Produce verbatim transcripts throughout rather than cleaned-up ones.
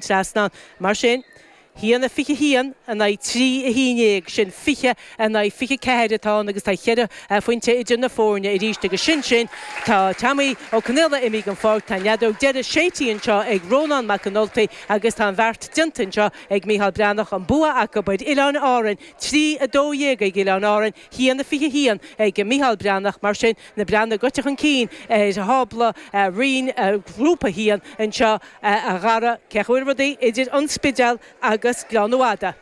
trasnán. Mar sin, haon a fiche haon in aghaidh trí a haon déag, sin fiche in aghaidh fiche ceathair atá ann agus tá ceithre phointe idir na foirne arís agus sin sin. Tá Tommy Ó Conaola imithe den pháirc, tá an fheadóg deiridh séidte anseo ag Rónán Mac an Ultaigh agus tá an bheart déanta anseo ag Mícheál Breathnach, an bua acu ar Oileáin Árann, trí a dó dhéag ag Oileáin Árann, haon a fiche haon ag Mícheál Breathnach. Mar sin, na Breathnaigh gaibhte chun cinn ar thábla roinn Ghrúpa a haon anseo a Dhara, cén chaoi a bhfuil rudaí idir an Spidéal agus Gleann Fhada.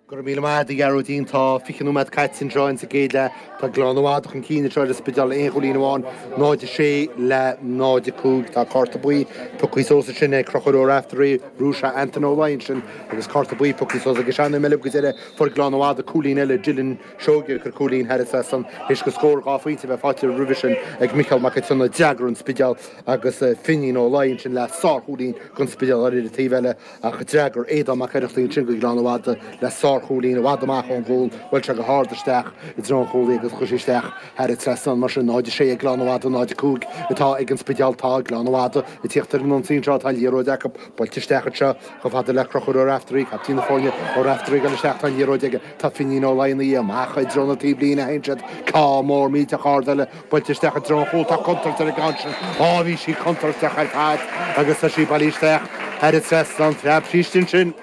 Go raibh míle maith agat, a Ghearóidín. Tá fiche nóiméad caite anseo insa gcéad leath. Tá Gleann Fhada chun cinn anseo ar an Spidéal aon chúilín amháin, náid a sé le náid a cúig. Tá cárta buí pioctha suas ansin ag Conchúr Ó Raftery, bhrúigh sé Anton Ó Laighin ansin agus cárta buí pioctha suas aige sin. Eile go deireadh fuair Gleann Fhada cúilín eile, Dylan Seoige ag cur cúilín thar an trasnán théis go scór dhá phointe a bheith faighte roimhe sin ag Micheál Mac an tSionnaigh. D'fhreagair an Spidéal agus Finín Ó Laighin ansin le sárchúilín don Spidéal ar an taobh eile ach d'fhreagair Aodán Mac Oireachtaigh ansin go Gleann Fhada le sárchúilín i bhfad amach ón gcúl, bhuail sé go hard isteach i dtreo an chúlaí agus chuir sé isteach thar an trasnán. Mar sin, náid a sé ag Gleann Fhada, náid a cúig atá ag an Spidéal. Tá Gleann Fhada ag tíocht ar an ionsaí anseo, tá an liathróid acu buailte isteach anseo chomh fada le Conchúr Ó Raftery, captaen na foirne. Ó Raftery ag dul isteach, tá an liathróid aige, tá Finín Ó Laighin amach i dtreo na taobhlíne a théann siad, ceann mór millteach ard eile buailte isteach i dtreo an chúil, tá contúirt ar an gceann sin, á bhí sí contúirteach ar fad agus tá sí bailithe isteach thar an trasnán, phreab sí istigh ansin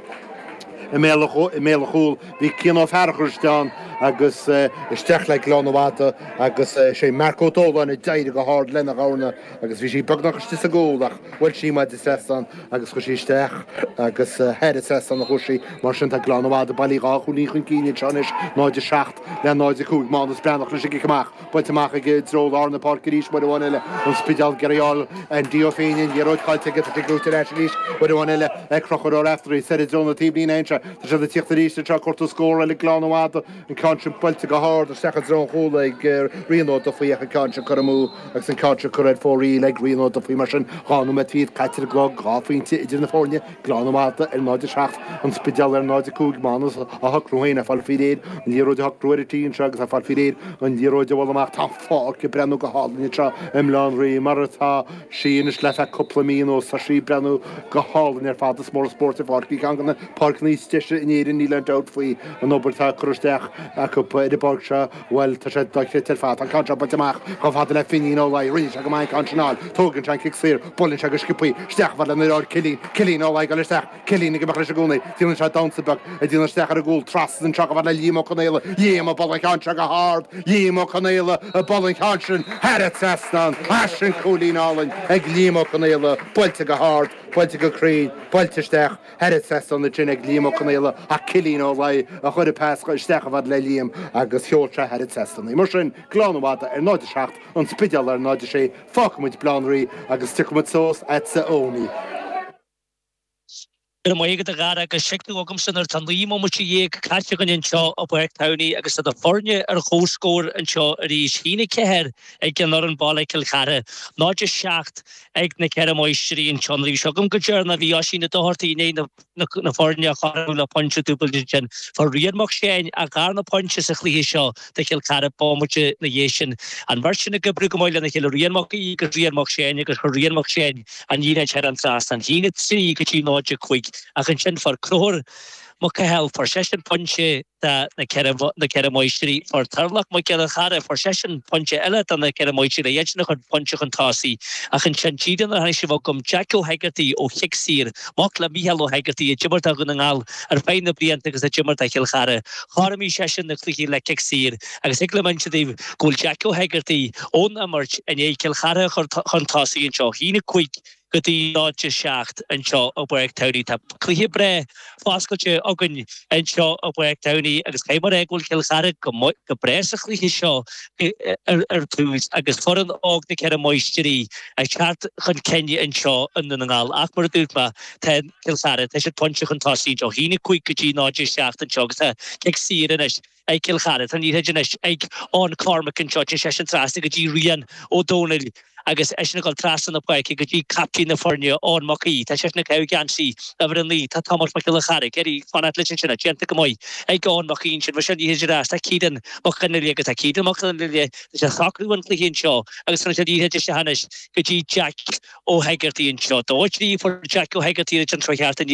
i mbéal an chúil. Bhí Cian Ó Fearchair istigh ann agus isteach le Gleann Fhada agus sé Marc Ó Dóláin a d'éirigh go hard lena dhorna agus bhí sí beagnach istigh sa gcúl ach bhuail sí maide trasnán agus chuir sí isteach agus thar an trasnán a chuaigh sí. Mar sin tá Gleann Fhada bailithe dhá chúilín chun cinn anseo anois, náid a seacht le náid a cúig. Mánas Breathnach leis an gcic amach, buailte amach ag i dtreo lár na páirce arís uair amháin eile an Spidéal ag iarraidh a fháil Andy Ó Féinne, an liathróid caillte aige, tá sé gnóite ar ais arís uair amháin eile ag Conchúr Ó Raftery, soir i dtreo na taobhlíne anseo. Tá siad ag tíocht arís anseo, cuartú scór eile Gleann Fhada, an ceann sin buailte go hard isteach i dtreo an chúil ag Rian Ó Dufaigh ach an ceann sin curtha amú agus an ceann sin curtha ar fóraoil ag Rian Ó Dufaigh. Mar sin, dhá nóiméad fichead caite ar an gclog, dhá phointe idir na foirne, Gleann Fhada ar náid a seacht, An Spidéal ar náid a cúig. Mánas á shocrú féin, ag fáil faoi réir an liathróid a shocrú ar an tí anseo agus ag fáil faoi réir an liathróid a bhualadh amach. Tá an pháirc ag breathnú go hálainn anseo i mBaile Átha an Rí mar atá sí anois le feadh cúpla mí anuas. Tá sí ag breathnú go hálainn ar fad. Is mór an spórt an pháirc í, ceann de na páirceanna is deise in Éirinn, níl aon dabht faoi. An obair atá curtha isteach acu ar an bpáirc seo, bhuel, tá sé dochreidte ar fad. Tá an ceann seo buailte amach chomh fada le Finín Ó Laoi. Rinne sé go maith an ceann sin a fháil. Tógann sé an cic saor, buaileann sé go sciobthaí isteach chomh fada lena dheartháir Cillian. Cillian Ó Laoi ag dul isteach. Cillian ag imeacht leis i gcónaí. Déanann sé damhsa beag ag déanamh isteach ar an gcúl. Trasna anseo chomh fada le Liam Ó Conaola. Liam ag bualadh an ceann seo go hard. Liam Ó Conaola ag bualadh an ceann sin thar an trasnán. Ah, sin cúilín álainn ag Liam Ó Conaola. Buailte go hard, buailte go cruinn, buailte isteach thar an trasnán ansin ag Liam Ó Conaola ach Cillian Ó Laoi a chuir an pas isteach chomh fada le Liam agus sheol sé thar an trasnán í. Mar sin, Gleann Fhada ar náid a seacht, An Spidéal ar náid a sé. Fágfaidh muid Baile Átha an Rí agus tiocfaidh muid suas agatsa a Eoiní. Go raibh maith agat a Dhara agus tuig tú agamsa nuair atá naoi mbomaite dhéag caite againn anseo i bPáirc Towney agus tá na foirne ar comhscór anseo arís. A haon a ceathair ag an fhoireann baile Cill Chartha, náid a seacht ag na Ceithre Máistrí anseo. Nuair a bhí seo agam go deireanach bhí Oisín Ó Dochartaigh i ndiaidh na foirne a chothromú le pointe dúbailte ansin. Fuair Rian Mac Seáin a dharna pointe sa chluiche seo do Chill Chartha bomaite ina dhiaidh sin. An bheirt sin ag oibriú go maith lena chéile, Rian Mac Aoidh agus Rian Mac Seáin agus chuir Rian Mac Seáin an liathróid thar an trasnán. A haon a trí go dtí náid a cúig ach ansin fuair Conchúr Mac Cathail, fuair seisean pointe do na Ceithre na Ceithre Máistrí, fuair Turlach Mac Giolla Chara, fuair seisean pointe eile do na Ceithre Máistrí, iad sin a chur pointe chun tosaigh ach ansin díreach nuair a tháinig sibh chugam Jack Ó hEigeartaigh ó chic saor, mac le Mícheál Ó hEigeartaigh a d'imir do Dhún na nGall ar feadh na blianta agus a d'imir do Chill Chartha. Chothromaigh seisean na cluichí le cic saor agus thig liom inse daoibh go bhfuil Jack Ó hEigeartaigh ón imirt i ndiaidh Cill Chartha a chur chun tosaigh anseo, a haon a cúig go dtí náid a seacht anseo i bPáirc Towney. Tá cluiche breá foscailte againn anseo i bPáirc Towney agus caithfidh mé a rá go bhfuil Cill Chartha go go breá sa chluiche seo ar ar tús agus foireann óg na Ceithre Máistrí ag teacht chun cinn anseo i nDún na nGall. Ach mar a dúirt mé, tá Cill Chartha, tá siad pointe chun tosaigh anseo, a haon a cúig go dtí náid a seacht anseo agus tá cic saor anois ag Cill Chartha. Tá an liathróid anois ag Eoin Cormac anseo, téann seisean trasna go dtí Rian Ó Dónaill agus eisean ag dul trasna na páirce go dtí captaen na foirne, Eoin Mac Aoidh. Tá seisean ag caitheamh geansaí uimhir a naoi. Tá Tomás Mac Giolla Charraig ag iarraidh fanacht leis ansin, déanta go maith ag Eoin Mac Aoidh ansin. Bhí sé liathróid ar ais. Tá Ciarán Mac Fhionnghaile agus tá Ciarán Mac Fhionnghaile tá sé ag socrú an chluiche anseo agus cuireann sé liathróid isteach anois go dtí Jack Ó hEigeartaigh anseo. Dó a trí fuair Jack Ó hEigeartaigh an treo cheart inniu.